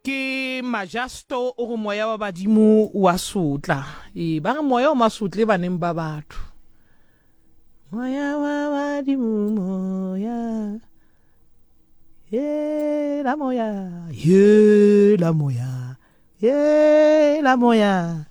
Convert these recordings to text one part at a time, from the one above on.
Ke Majasto o re moya wa badimo wa sotla. Ee, ba re moya o masotle baneng ba batho. Moya wa badimo moya. Ye la moya, ye la moya, ye la moya.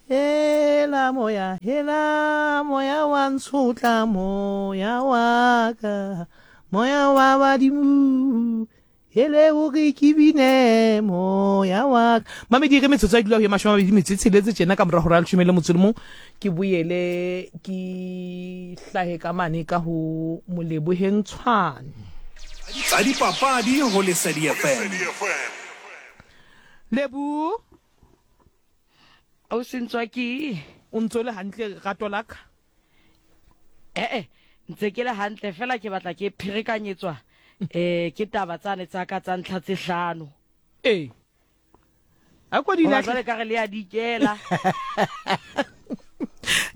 Hela moya, hela moya wa ntshotla moya wa ka, moya wa badimo. Hele o re ke bine moya wa ka. Mamedi ge metsotso ya dula go ye 28 metso e tsheletse tjena ka morago ra leshome le motso le mong ke boele ke hlahe ka mane ka ho Moleboheng Tshwane. Tsa dipapadi ho Lesedi FM. Lebu. O sentswa ke. O ntso le hantle rato la ka? Eh-eh, ntse ke le hantle fela ke batla ke pherekanyetswa eh ke taba tsane tsa ka tsa ntlha tse hlano. Ee. A ko di Hoba lahle. jwale ka re le ya dikela.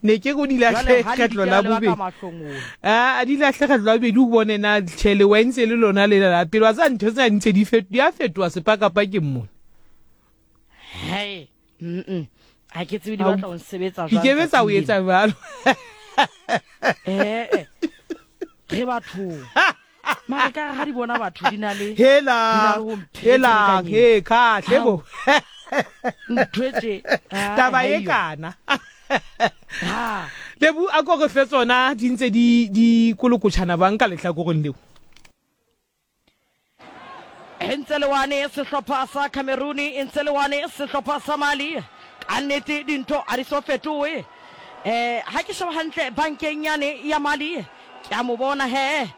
Ne ke go di lahle Jwale ha le kgetlo dikela la le baka bobedi. mahlongola. A di lahle kgetlo la bobedi o bone na tjhe le wentse le lona le la pele wa tseba ntho tsena di ntse di fet di a fetoha sepakapakeng mona. Hei, mm ha ke tsebe di batla ho nsebetsa Di jwang ke be tsa o tsatsing lena. etsa jwalo. Eh, re bathong. Mara ka ha di bona batho di na le Hela, di na le ho hela, mpherekanyetsa. he, khahle bo. Ntho e tje, ah, Taba ha e eyo. kana. Ha. Lebu a ko re fe tsona di ntse di di kolokotjhana bang ka lehlakoreng leo. E ntse le wane sehlopha sa Cameroon, e ntse le wane sehlopha sa Mali. Ka nnete dintho ha di so fetohe. Eh, ha ke sheba hantle bankeng yane ya Mali, ke a mo bona he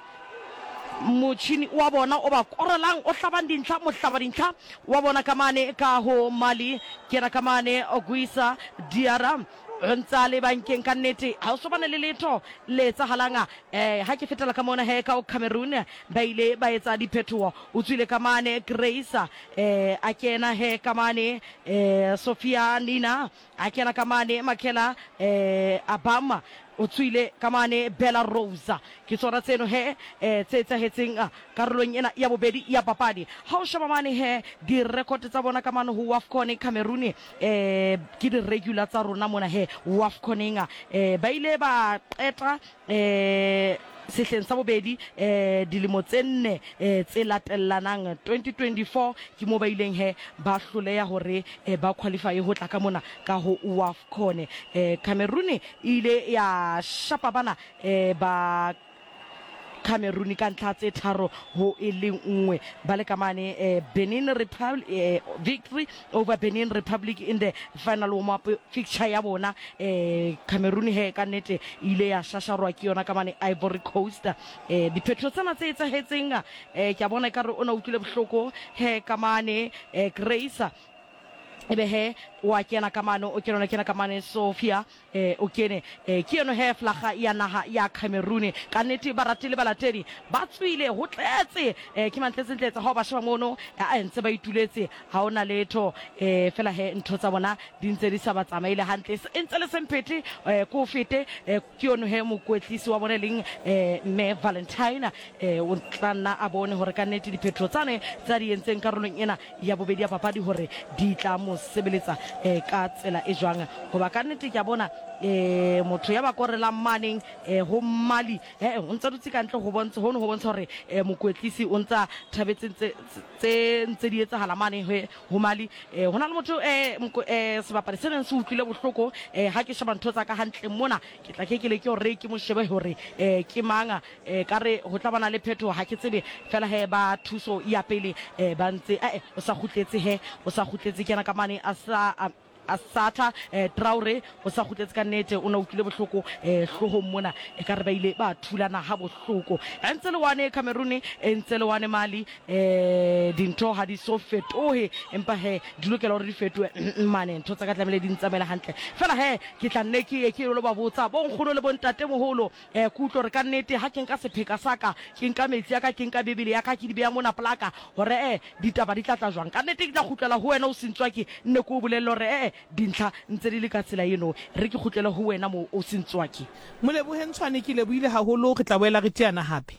motjhini wa bona o ba korelang, o hlabang dintlha, mohlaba dintlha wa bona ka mane ka ho Mali. Ke yena ka mane Oguisa Diarra. O ntse a le bankeng ka nnete, ha o so bane le letho le etsahalang. Eh, ha ke fetela ka mona he ka o Cameroon, ba ile ba etsa diphetoho. O tswile ka mane Grace, eh, a kena he ka mane, eh, Sophia Nina, a kena ka mane Makela, eh, Abama, o tswile ka mane Bella Rose. Ke tsona tseno he, eh, tse etsahetseng karolong ena ya bobedi ya papadi. Ha o sheba mane he, di-record tsa bona ka mane ho WAFCON Cameroon, eh ke di regular tsa rona mona he WAFCONeng eh ba ile ba qeta eh sehleng sa bobedi eh dilemo tse nne eh tse latellanang 2024 ke mo ba ileng he ba hloleha hore eh ba qualify ho tla ka mona ka ho WAFCON eh Cameroon e ile ya shapa bana eh ba Cameroon ka ntlha tse tharo ho e le nngwe ba le ka mane eh, Benin Republic eh, victory over Benin Republic in the final warm up fixture ya bona eh, Cameroon he ka nnete e ile ya shasharwa ke yona ka mane Ivory Coast eh, diphetho tsena tse etsahetseng eh, ke a bona ekare o na utlwile bohloko he ka mane eh, Grace ebe he wa kena ka mane o kena kena ka mane Sophia eh, o kene eh, ke eno he flaga ya naga ya Cameroon ka nnete barati le balatedi ba tswile ho tletse eh, ke mantletsentletse ha o ba sheba mono a ntse ba ituletse ha o na letho eh, fela he ntho tsa bona di ntse di sa ba tsamaile hantle e ntse le semphethe eh, ko fete eh, ke yono he mokwetlisi wa bone leng eh, mme Valentine eh, o tla nna a bone hore ka nnete diphetho tsane tsa di entseng karolong ena ya bobedi ya papadi hore di tla mo sebeletsa eh, ka tsela e jwang. Hoba ka nnete ke a bona eh, motho ya ba korelang maneng eh, ho Mali eh, o ntsa dutse ka ntle ho bontsha hono ho bontsha hore eh, mokwetlisi o ntsa thabetse tse tse ntse di etsahala mane he ho Mali. Eh, ho na le motho eh, moko, eh, sebapadi se neng se utlwile bohloko eh, ha ke sheba ntho tsa ka hantle mona ke tla ke ke leke hore ke mo shebe hore eh, ke mang. E ka re ho tla bana le phetoho, ha ke tsebe. Feela he ba thuso ya pele e ba ntse, eh, o sa kgutletse he, o sa kgutletse. Ke yena ka mane a sa, a Satha, eh, Traore, o sa kgutletse ka nnete. O na utlwile bohloko, eh, hloohong mona. E ka re ba ile ba thulana ha bohloko. E ntse le wane Cameroon, e ntse le wane Mali, eh, dintho ha di so fetohe, empa he di lokela hore di fetohe. Mane ntho tsa ka tlamehile di ntsamaele hantle. Feela he ke tla nne ke ye ke lo ba botsa bo nkgono le bo ntatemoholo. Ke utlwa gore ka nnete ha ke nka sepheka sa ka, ke nka metsi a ka, ke nka Bibele ya ka, ke di beya mona pela ka, gore ee, ditaba di tla tla jwang. Ka nnete ke tla kgutlela ho wena o Sentswaki, nne ke o bolelle gore ee, dintlha ntse di le ka tsela eno. Re ke kgutlele ho wena moo o Sentswaki. Molebohe Ntshwane, ke lebohile haholo, re tla boela re teana hape.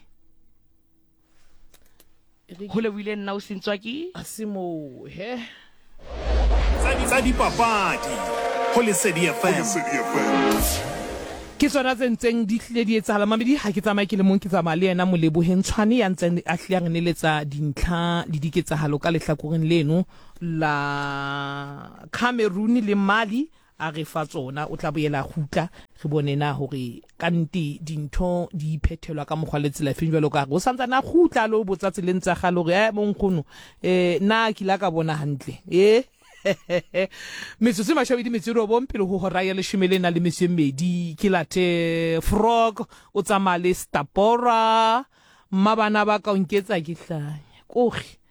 Go lebohile nna o Sentswaki. A se moo he. Tsa dipapadi go Lesedi FM. Ke tsona tse ntseng di hlile di etsahala mamedi ha ke tsamaye ke le mong ke tsamaya le yena Moleboheng Tshwane ya ntseng a hlile a re neletsa dintlha le diketsahalo ka lehlakoreng leno la Cameroon le Mali a re fa tsona, o tla boela a kgutla, re bone na hore kannete dintho di phethelwa ka mokgwa le tsela efeng. Jwalo ka re o santsane a kgutla a lo botsa tseleng tsa kgale hore, eh, bonkgono, eh, na ke la ka bona hantle? Eh, metsotso e mashabedi metso e robong pele ho hora ya leshome le nang le metso e mmedi, ke late Frog o tsamaya le Stapora, mma bana ba ka o nketsa ke hlanya, kore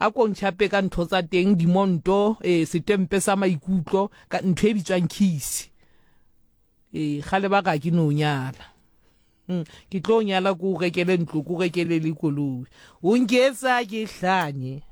A ko ntjhape ka ntho tsa teng, dimonto, ee, setempe sa maikutlo, ka ntho e bitswang khisi. Ee, kgale ba ka ke no nyala. Ke tlo nyala ko o rekele ntlo, ko rekele le koloi. O nketsa ke hlanye.